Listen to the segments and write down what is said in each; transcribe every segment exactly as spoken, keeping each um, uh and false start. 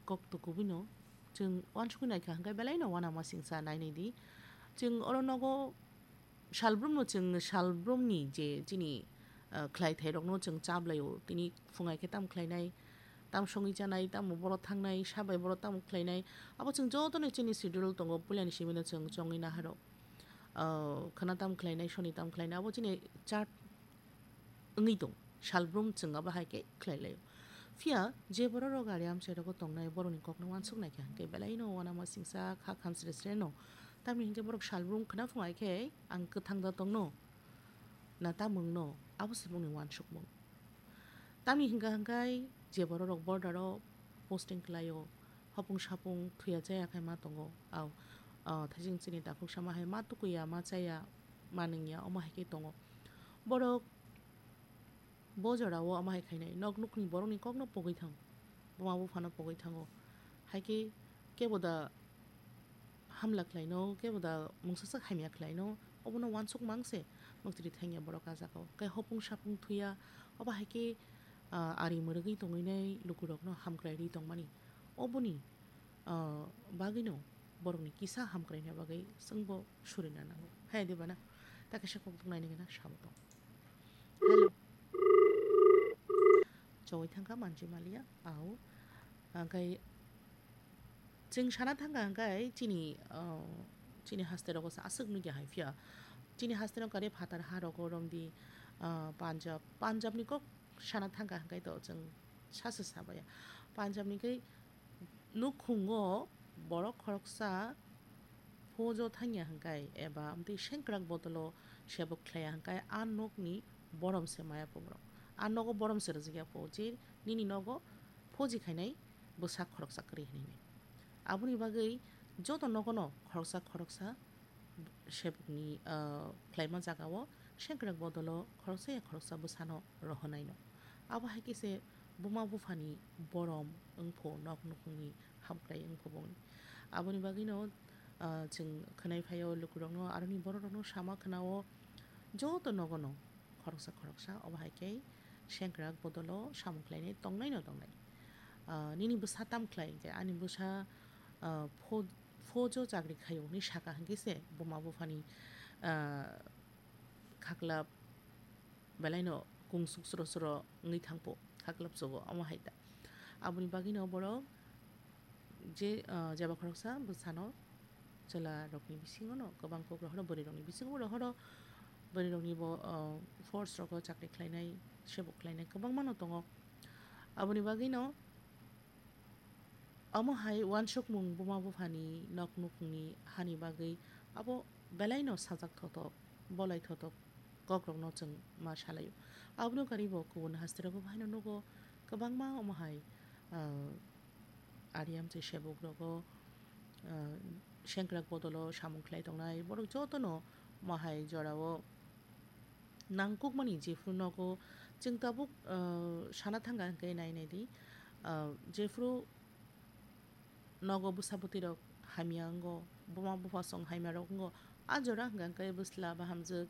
kok tu kubui no chwng uansukwi naikha hwnkhe belai no uanama singsa nainai di. Chwng oro nogo salbrumno chwng salbrumni je chini, ah, khlaithairokno chwng chaplaio. Tini phungai khe tamo khlainai, tamo songwi chanai, tamo boro thangnai, sabai boro tamo khlainai. Abo chwng jotono chini schedule tongo, puilani simino chwng chongwi naharok. Ah, khwna tamo khlainai, soni tamo khlainai, abo chini chart wngwi tong. Salbrum chwng abo hai khe khlai laio. Phiya je bororok ari amchairogo tongnai, borokni kokno uansuk naikha hwnkhe belaino uanama singsa kha khamsre sreno. Tamni hwnkhe borok salbrum khwna phungai khe ang kwthang da tongno na tamungno, abo se bongni uansukmung. Tamni hwnkha hwnkhe je bororok border-o posting khlaio, hopung sapung thuya chaya khai ma tongo, au, ah, thaising chini takhuk sama hai ma tukuya, ma chaya, ma nungya, omo hai khe tongo. Borok bo jorao omo hai khainai, nok nukni borokni kokno pogwi thango, buma buphano pogwi thango. Hai khe kebo da hamla khlaino, kebo da mungsa sak hamya khlaino, obono uansuk mang se muktri thangya borok ah jagao. Khe hopung sapung thuya, obo hai khe, ah, ari mwrwgwi tongwinai lukurokno hamkrai rwi tongmani. Oboni, ah, bagwino borokni kisa hamkraina bagwi chwngbo surina nango. Hai de bana, ta kaisa kok naini gana sabo tong. Hello. Chowai thangkha manjui maliya, au. Hwnkhe chwng sana thangkha hwnkhe chini, ah, chini haste rogo sa aswk nukya hai phiya. Chini haste rok kare phatar ha rogo romdi, ah, Punjab. Punjab ni kok sana thangkha hwnkhe to chwng sasa sabaya. Punjab ni khe nukhungo borok khoroksa phojo thangya hwnkhe eba amtwi sengkrak bodolo sebuk khlaiya hwnkhe a nokni borom se maya po borok. A nogo borom se rwjakya po je nini nogo phoji khainai bwsa khoroksa kwrwi hinwi. Aboni bagwi joto nogono khoroksa khoroksa sebukni, ah, khlaima jagao sengkrak bodolo khoroksa ya khoroksa bwsano rohonaino. Abo hai khe se buma buphani borom wngpho nok nukhungni hamkrai wngpho bongni. Aboni bagwino, ah, chwng khwnai phaio lukurokno, aroni bororokno sama khwnao joto nogono khoroksa khoroksa obo hai khe sengkrak bodolo samung khlainai tongnaino tongnai. Ah, nini bwsa tam khlai hwnkhe ani bwsa, ah, pho-, phojo chakri khaio hinwi saka hwnkhe se buma buphani, ah, khaklap belaino kungsuk sro sro wngwi thangpo, khaklap chogo, omo hai ta. Aboni bagwino borok je, ah, jeba khoroksa bwsano chwla rokni bisingo no kwbang kok rohoro, bwrwi rokni bisingo rohoro, bwrwi rokni bo, ah, force rogo chakri khlainai, sebuk khlainai kwbangma no tongo. Aboni bagwino omo hai uansukmung buma buphani nok nukhungni hani bagwi abo belaino sajak thotok, bolai thotok kokrokno chwng ma salaio. Abono karibo kubun haste rogo bo haino nugo kwbangma omo hai, ah, ari amchai sebuk rogo, ah, sengkrak bodolo samung khlai tongnai borok jotono omo hai jorao nangkukmani jephru nogo chwng tabuk, ah, sana thangkha hwnkhe nai nai di, ah, jephru nogo bwsa bwtwi rok hamya wngo, buma bupha song hamya rok wngo, a jora hwnkha hwnkhe bwsla bahamjwk,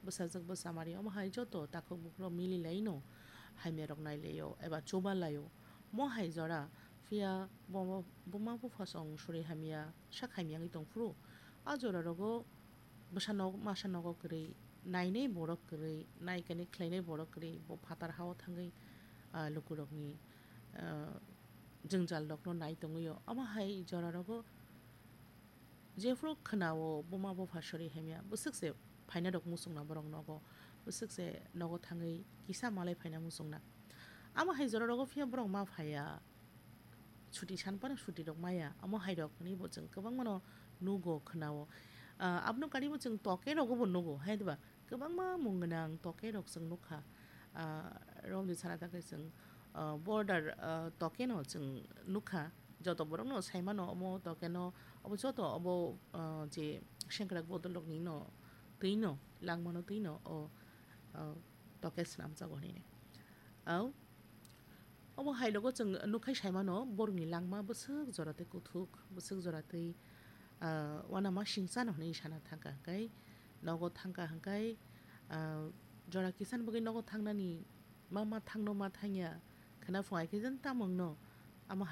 bwsajwk bwsamari omo hai joto takhuk bukhuk rok mili laino hamya rok nai laio eba chuba laio. Mo hai jora phiya bo-, buma bupha song suri hamya sak hamya wngwi tong phuru a jora rogo bwsa nok masa nogo kwrwi, nainai borok kwrwi, naikani khlainai borok kwrwi, bo phatar hao thangwi, ah, lukurokni, ah, jwngjal rokno nai tongwio. Omo hai jora rogo jephru khwnao buma bupha sori hamya, bwswk se phaina rok muchungna borok nogo, bwswk se nogo thangwi kisa malai phaina muchungna. Omo hai jora rogo phiya borok ma phaiya. Chuti san phano chuti rok maya, omo hai rok hinwi bo chwng kwbangma no nugo, khwnao. Ah, abono karibo chwng toke rogo bo nugo, hai diba? Kwbangma mung gwnang toke rok chwng nukha. Ah, romdi sana ta khe chwng, ah, border, ah, toke no chwng nukha. Joto borok no sai mano omo toke no, obo joto obo, ah, je sengkrak bodol rok ni no twi no, langma no twi no, o, ah, toke swnamjago hinwi. Au. Omo hai rogo chwng nukha sai mano, borokni langma bwswk jora tei kuthuk, bwswk jora tei, ah, uanama singcha no hinwi sana thangkha hwnkhe, nogo thangkha hwnkhe, ah, jora kisa ni bagwi nogo thangnani ma, ma thangno ma thangya, khwna phungai khe jen tamungno, omo